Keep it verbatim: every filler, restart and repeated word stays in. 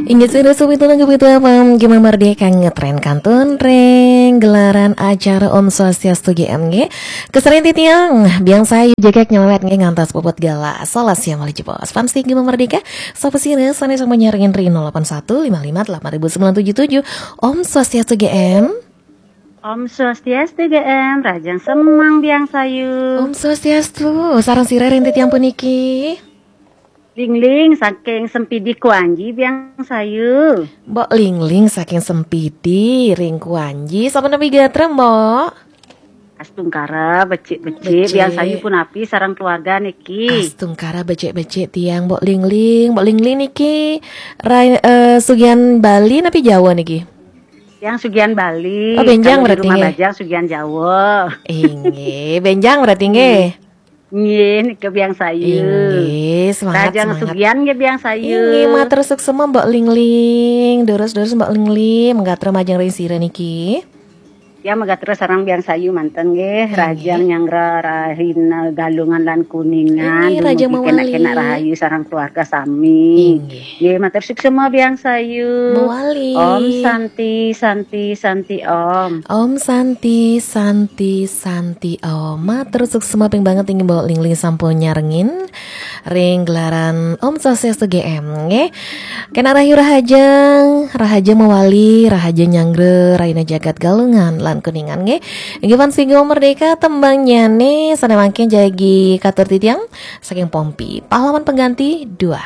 Inggih sira sami tuna kepitu apam Gema Merdeka ngetren kantun ring gelaran acara Om Swastiastu G M nggih. Keserin titiang biang sayu jegek nyawet nggih ngantos puput galah. Salah siang malih jebos. Fans Gema Merdeka, sapa sira sane sampun nyarengin ring nol delapan satu lima lima delapan ribu sembilan tujuh tujuh. Om Swastiastu G M. Om Swastiastu G M, rahajeng semeng biang sayu. Om Swastiastu, sareng sira ring titiang puniki. Lingling saking Sempidi Kuanji biang sayu. Mbok Lingling saking Sempidi ring Kuanji, sampun napi gatra, Mbok? Astungkara, becik-becik, Becik. Biang sayu punapi sareng keluarga niki. Astungkara becik-becik tiang, Mbok Lingling. Mbok Lingling niki rai-, eh, sugihan Bali napi Jawa niki? Tiang sugihan Bali. Oh, benjang. Kalau di berarti rumah nggih. Bajang sugihan Jawa. Inggih, benjang berarti nggih. Nggih, nika biang sayu. Inggih, semangat, rahajeng semangat. Sugihan nggih biang sayu. Inggih, matur suksema Mbok Lingling. Durus-durus Mbok Lingling, menggatra majeng ring sira niki. Ya, menggatra sareng biang sayu manten nggih. Inggih. Rahajeng nyanggra rahina Galungan lan Kuningan. Inggih, rahajeng dumugi mawali. Kenak-kenak rahayu sareng keluarga sami. Inggih. Nggih, matur suksema biang sayu. Mawali. Om Santi, Santi, Santi Om. Om Santi, Santi, Santi Om. Matur suksema ping banget inggih Mbok Lingling sampun nyarengin ring gelaran Om Swastiastu G M nggih. Kenak rahayu rahajeng, rahajeng mawali, rahajeng nyanggra rahina jagat Galungan lan Kuningan nggih. Inggih fans Gema Merdeka, tembangnyane sane mangkin jagi katur titiang saking Pompi, Pahlawan Pengganti dua.